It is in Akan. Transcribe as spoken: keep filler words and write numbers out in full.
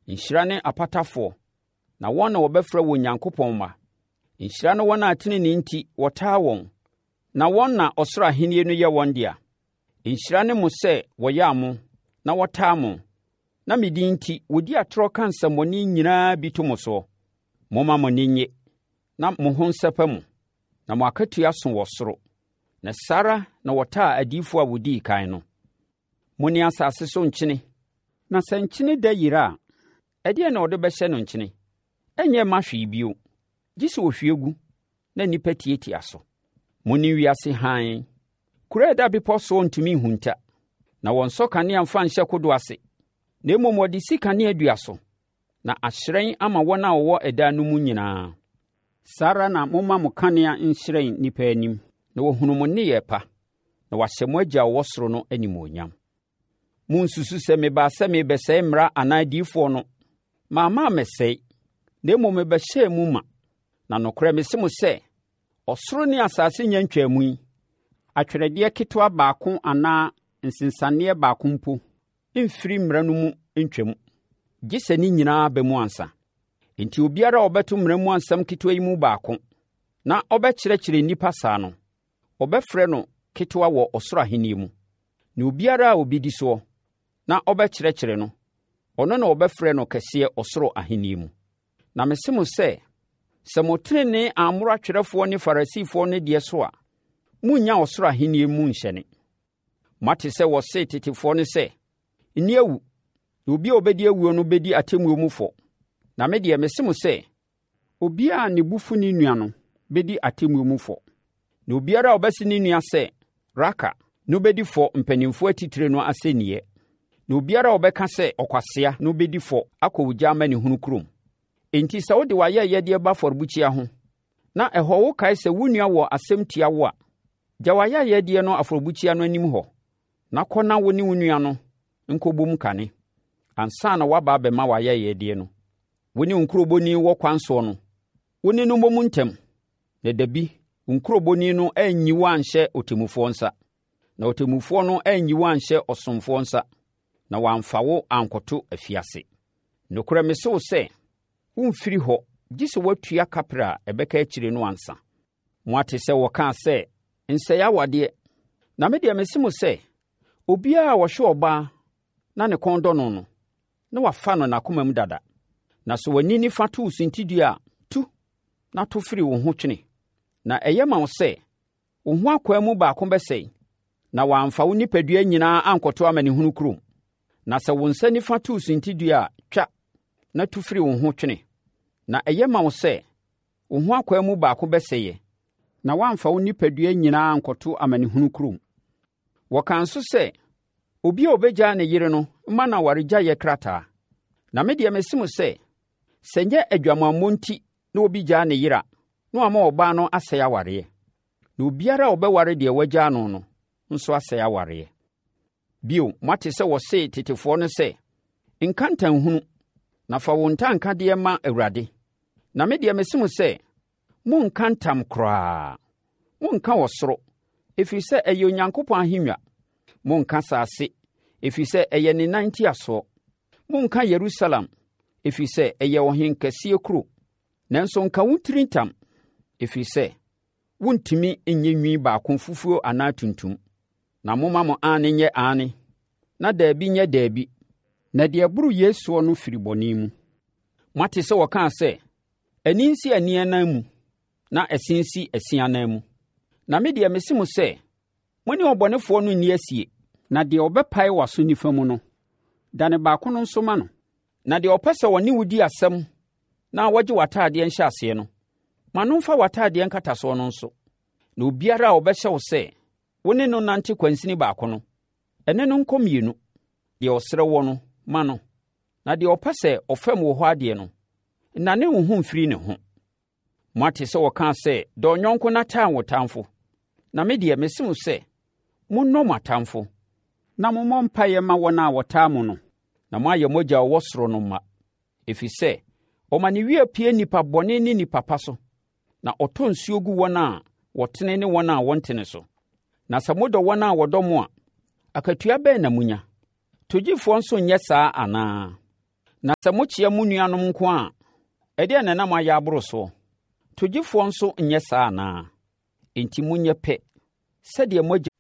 Nhyira ne apatafoɔ, na wɔn na wɔbɛfrɛ wɔn Onyankopɔn mma. Nhyira ne wɔn a tenenee nti wɔtaa wɔn, na wɔn na ɔsoro ahennie no yɛ wɔn dea. Nhyira ne mo sɛ wɔyaa mo na wɔtaa mo, na me din nti wɔdi atorɔ ka nsɛmmɔne nyinaa bi to mo soɔ. Momma mo ani nnye na mo ho nsɛpɛ mo, na mo akatua so wɔ soro. Na saa ara na wɔtaa adiyifoɔ a wɔdii kan no. Mo ne asase so nkyene, na sɛ nkyene dɛ yera a, ɛdeɛn na wɔde bɛhyɛ no nkyene? Ɛnyɛ mma hwee bio, gye sɛ wɔhwie gu na nnipa tiatia so. Mo ne wiase hann. Kuro a ɛda bepɔ soɔ ntumi nhunta, na wɔnsɔ kanea mfa nhyɛ kodoɔ ase, na mmom wɔde si kanea dua so, na ahyerɛn ama wɔn a wɔwɔ ɛdan no mu nyinaa. Saa ara na momma mo kanea nhyerɛn nnipa anim, na wɔahunu mo nneyɛɛ pa, na wɔahyɛ mo Agya a ɔwɔ soro no animuonyam. Monnsusu sɛ mebaa sɛ merebɛsɛe mmara anaa adiyifoɔ no. Mamma ammɛsɛe, na mmom mebɛhyɛɛ mu ma. Na nokorɛ mese mo sɛ, ɔsoro ne asase nnya ntwaa mu yi, atwerɛdeɛ ketewa baako anaa nsensaneeɛ baako mpo mfiri mmara no mu ntwam, gye sɛ ne nyinaa ba mu ansa. Enti obiara a ɔbɛto mmara mu asɛm ketewa yi mu baako, na ɔbɛkyerɛkyerɛ nnipa saa no, wɔbɛfrɛ no ketewa wɔ ɔsoro ahennie mu. Na obiara a ɔbɛdi soɔ, na ɔbɛkyerɛkyerɛ no, ɔno na wɔbɛfrɛ no kɛseɛ ɔsoro ahennie mu. Na mese mo sɛ, sɛ mo tenenee ammoro atwerɛfoɔ ne Farisifoɔ no deɛ so a, morennya ɔsoro ahennie mu nhyɛne. Moate sɛ wɔsee tetefoɔ no sɛ, 'Nni awu, na obi a ɔbɛdi awuo no bɛdi atemmuo mu fɔ.' Na me deɛ, mese mo sɛ, obiara a ne bo fu ne nua no bɛdi atemmuo mu fɔ. Na obiara a ɔbɛse ne nua sɛ, 'Raka' no bɛdi fɔ mpanimfoɔ atitire no asɛnniiɛ. Na obiara a ɔbɛka sɛ, 'Ɔkwasea' no bɛdi fɔ akɔ ogya amanehunu kurom. Enti sɛ wode w'ayɛyɛdeɛ ba afɔrebukyia ho, na ɛhɔ wokae sɛ wo nua wɔ asɛm tia wo a, gya w'ayɛyɛdeɛ no afɔrebukyia no anim hɔ, na kɔ na wo ne wo nua no nkɔbom kane, ansa na woaba abɛma w'ayɛyɛdeɛ no. Wo ne wo nkurobɔni wɔ kwan soɔ no, wo ne no mmom ntɛm, na da bi wo nkurobɔni no anyi wo anhyɛ ɔtemmufoɔ nsa, na ɔtemmufoɔ no anyi wo anhyɛ ɔsomfoɔ nsa, na wɔamfa wo ankɔto afiase. Nokorɛ mese wo sɛ, woremfiri hɔ gye sɛ woatua kaprɛ a ɛbɛka akyire no ansa. Moate sɛ wɔkaa sɛ, 'Nsɛe awadeɛ.' Na me deɛ mese mo sɛ, obiara a ɔhwɛ ɔbaa na ne kɔn dɔ no no, na wafa no n'akomam dada. Na sɛ w'ani nifa to wo suntidua a, tu na to firi wo ho twene. Na ɛyɛ ma wo sɛ wo ho akwaa mu baako bɛsɛe, na wɔamfa wo nipadua nyinaa ankɔto amanehunu kurom. Na sɛ wo nsa nifa to wo suntidua a, twa na tu firi wo ho twene. Na ɛyɛ ma wo sɛ wo ho akwaa mu baako bɛsɛeɛ, na woamfa wo nipadua nyinaa ankɔto amanehunu kurom. Wɔkaa nso sɛ, obi a ɔbɛgyaa ne yere no mma no awaregyaeɛ krataa. Na me deɛ mese mo sɛ, sɛ ɛnyɛ adwamammɔ nti na obi gyaa ne yere a, na wama ɔbaa no asɛe awareɛ. Na obiara a ɔbɛware deɛ wagyaa no no nso asɛe awareɛ. Bio, moate sɛ wɔsee tetefoɔ no sɛ, Nka ntanhunu, na fa wo ntankadeɛ ma Awurade. Na me deɛ mese mo sɛ, monnka ntam koraa. Monnka ɔsoro, ɛfiri sɛ ɛyɛ Onyankopɔn ahennwa. Monnka asase, ɛfiri sɛ ɛyɛ ne nan ntiasoɔ. Monnka Yerusalem, ɛfiri sɛ ɛyɛ ɔhenkɛseɛ kuro. Nanso nka wo tiri ntam, ɛfiri sɛ wontumi nyɛ nwi baako fufuo anaa tuntum. Na momma mo aane nyɛ aane, na daabi nyɛ daabi, na deɛ ɛboro yei soɔ no firi bɔne mu. Moate sɛ wɔkaa sɛ, ani nsi ani anan mu, na ɛse nsi ɛse anan mu. Na me deɛ mese mo sɛ, mo ne ɔbɔnefoɔ no nni asie. Na deɛ ɔbɛpae w'aso nifa mu no, dane baako no nso ma no. Na deɛ ɔpɛ sɛ ɔne wo di asɛm na ɔgye w'atadeɛ nhyɛaseɛ no, ma no mfa w'atadeɛ nkatasoɔ no nso. Na obiara a ɔbɛhyɛ wo sɛ wo ne no nante kwansini baako no, ɛne no nkɔ mmienu. Deɛ ɔsrɛ woɔ no, ma no, na deɛ ɔpɛ sɛ ɔfɛm wo hɔ adeɛ no, nnane wo ho mfiri ne ho. Moate sɛ wɔkaa sɛ, 'Dɔ wo yɔnko na tan wo tamfo.' Na me deɛ, mese mo sɛ, monnɔ mo atamfo, na mommɔ mpaeɛ mma wɔn a wɔtaa mo no, na moayɛ mo Agya a ɔwɔ soro no mma, ɛfiri sɛ, ɔma ne wia pue nnipa bɔne ne nnipa pa so, na ɔtɔ nsuo gu wɔn a wɔtene ne wɔn a wɔntene so. Na sɛ modɔ wɔn a wɔdɔ mo a, akatua bɛn na monya? Togyifoɔ nso nyɛ saa anaa? Na sɛ mokyea mo nuanom nko a, ɛdeɛn na na moayɛ aboro soɔ? Togyefoɔ nso nyɛ saa anaa? Enti monyɛ pɛ, sɛdeɛ mo Agya